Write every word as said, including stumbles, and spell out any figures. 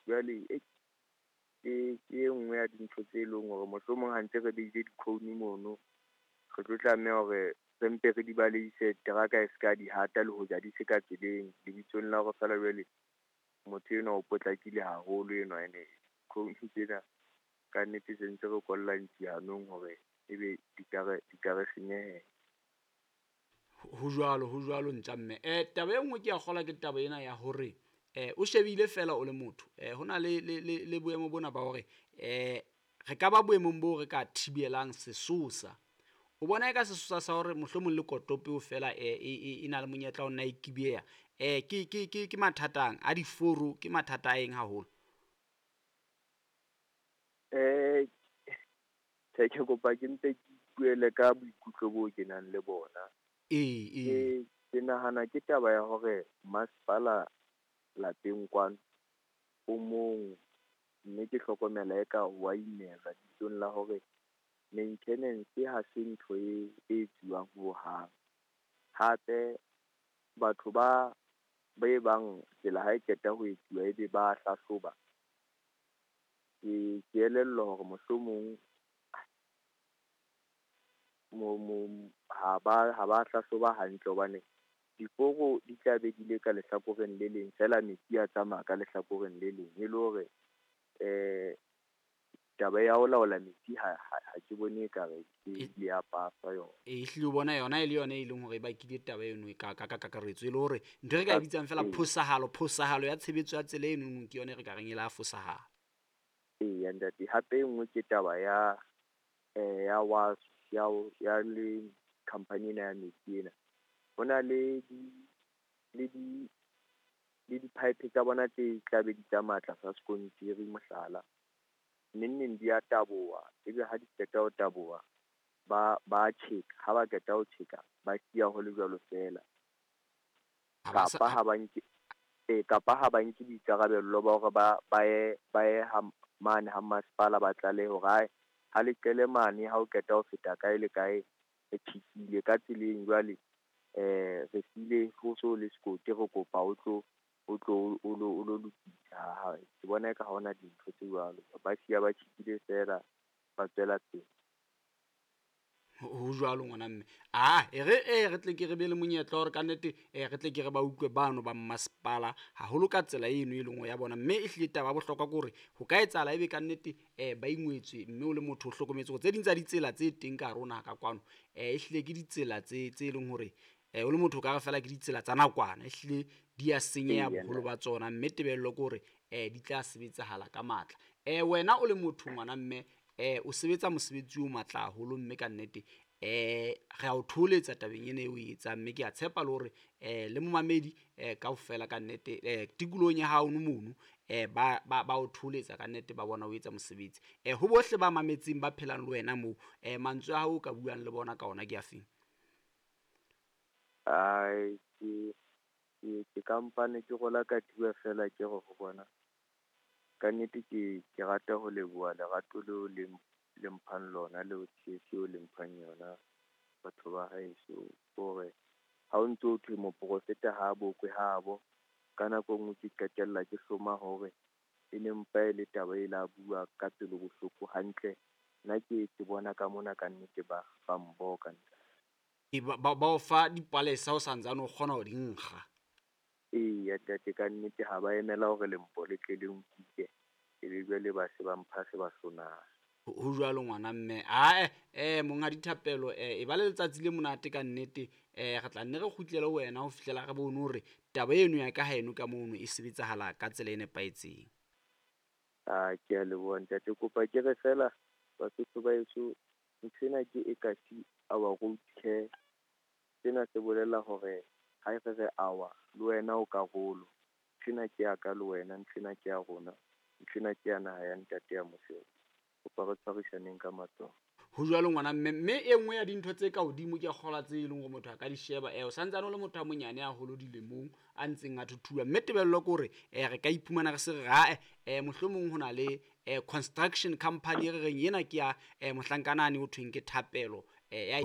Jwale e ke ke e nngwe ya dintho tse leng hore mohlomong ha ntse re behile di-cone mono, re tlo tlameha hore re mpe re di baleise teraka e ska di hata le hoja di se ka tseleng. Lebitsong la hore feela jwale motho enwa o potlakile haholo enwa ene cone tsena ka nnete se ntse re kolla ntsi hanong hore ebe di ka re di ka re senyehela. Ho jwalo, ho jwalo ntja mme. Eh taba e nngwe ke ya kgolwa ke taba ena ya hore eh o shebile fela o le motho. Eh hona le le le le boemo bona ba hore eh re ka ba boemong bo re ka thibelang sesosa. O bona eka sesosa sa hore mohlomong le kotopo fela e e e na le monyetla o nna e kibeya. Eh ke ke ke ke mathatang a diforo, ke mathata a eng haholo? Eh ke ke kopa ke mpe ke ipuele ka boikutlo bo ke nang le bona. Ee, Ke ee. ke nahana ke taba ya hore masepala lapeng kwano o mong, mme ke hlokomela eka wa imelwa bitsong la hore maintenance ha se ntho e e etsuwang hohang. Hape batho ba ba e bang tsela ha e qeta ho etsuwa ebe ba hlahloba. Ke ke elellwa hore mohlomong mo mo ha ba ha ba hlahloba hantle hobane diforo di tla be di le ka lehlakoreng le leng feela metsi a tsamaya ka lehlakoreng le leng. E le hore eh taba ya ho laola metsi ha ha ha ke bone ekare ke ile ya paswa yona. E hlile o bona yona e le yona e leng hore e bakile taba eno e ka ka ka kakaretso e le hore ntho e re ka e bitsang fela Ee. phosahalo, phosahalo ya tshebetso ya tsela eno ke yona e re ka reng e la fosahala. Eya ntate, hape e nngwe ke taba ya eh ya wa ya ya le company ena ya metsi ena. Ho na le di le di le di-pipe tsa bona tse tla be di tsamaya tlasa sekontiri mohlala. Neng neng di a taboha, ebe ha di qeta ho taboha ba ba tjheka, ha ba qeta ho tjheka ba siya ho le jwalo feela. Ha ba sa- Kapa ha ba nke eh kapa ha ba nke boikarabello ba hore ba ba ye ba ye ha mane ha masepala ba tlalehe hore hai ha le qele mane ha o qeta ho feta kae le kae re tjhekile ka tseleng jwale eh re siile ho so le sekoti re kopa o tlo o tlo o lo o lo lokisa. Ha ke bona eka ha hona dintho tse jwalo, ba siya ba tjhekile feela ba tswela pele. Ho ho jwalo ngwana mme. Ah, e re e re tle ke re be le monyetla hore ka nnete eh re tle ke re ba utlwe bano ba mmasepala haholo ka tsela eno e leng ya bona. Mme e hlile taba ya bohlokwa ke hore ho ka etsahala ebe ka nnete eh ba ingwetswe mme o le motho o hlokometse hore tse ding tsa ditsela tse teng ka hare ho naha ka kwano eh ehlile ke ditsela tse tse leng hore eh o le motho o ka re fela ke ditsela tsa nakwana, ehlile di a senyeha Eya, boholo ba tsona mme tebello ke hore eh di tla sebetsahala ka matla. Eh wena o le motho ngwana mme eh o sebetsa mosebetsi o matla haholo mme ka nnete eh re a o thoholetsa tabeng ena eo o e etsang mme ke a tshepa le hore eh le momamedi eh kaofela ka nnete eh tikolohong ya hao mono eh ba ba ba o thoholetsa ka nnete ba bona o etsa mosebetsi. Eh ho bohle ba mametseng ba phelang le wena moo eh mantswe a hao o ka buang le bona ka ona ke afeng? Ai ke ke ke kampane ke rola katiba fela ke re ho bona ka nnete ke ke rata ho leboha lerato leo le le mphang lona leo tshehetso eo le mphang yona batho ba haeso. Hore ha o ntso thwe moprofeta ha bokwe habo, ka nako e nngwe ke qetella ke hloma hore e ne mpa e le taba e la bua ka pelo bohloko hantle. Nna ke ke bona ka mona ka nnete ba ba mboka. E ba ba o fa dipalesa o santsane o kgona ho di nkga. Eya ntate, ka nnete ha ba emela hore lempo le tle le nkuke, ebe jwale ba se ba mpha se ba hlonang. Ho jwalo ngwana mme. Ae eh monghadi Thapelo eh e ba le letsatsi le monate ka nnete. Eh re tla nne re kgutlele ho wena ho fihlela re bone hore taba eno ya ka haeno ka mono e sebetsahala ka tsela e nepahetseng. Ah ke a leboha ntate, kopa ke re fela Basotho ba heso nthwena ke e kasi our road care. Sena se bolela hore ha re re our le wena o karolo. Nthwena ke ya ka le wena, nthwena ke ya rona, nthwena ke ya naha ya ntate ya Mosele. Kopa re tshwarisaneng ka matsoho. Ho jwalo ngwana mme, mme e nngwe ya dintho tse ka hodimo ke kgolwa tse leng hore motho a ka di sheba eh o santsane o le motho a monyane haholo dilemong a ntseng a thuthuwa mme tebello ke hore eh re ka iphumana re se re ae eh mohlomong ho na le eh construction company e re reng ena ke ya eh mohlankana ane ho thweng ke Thapelo eh ya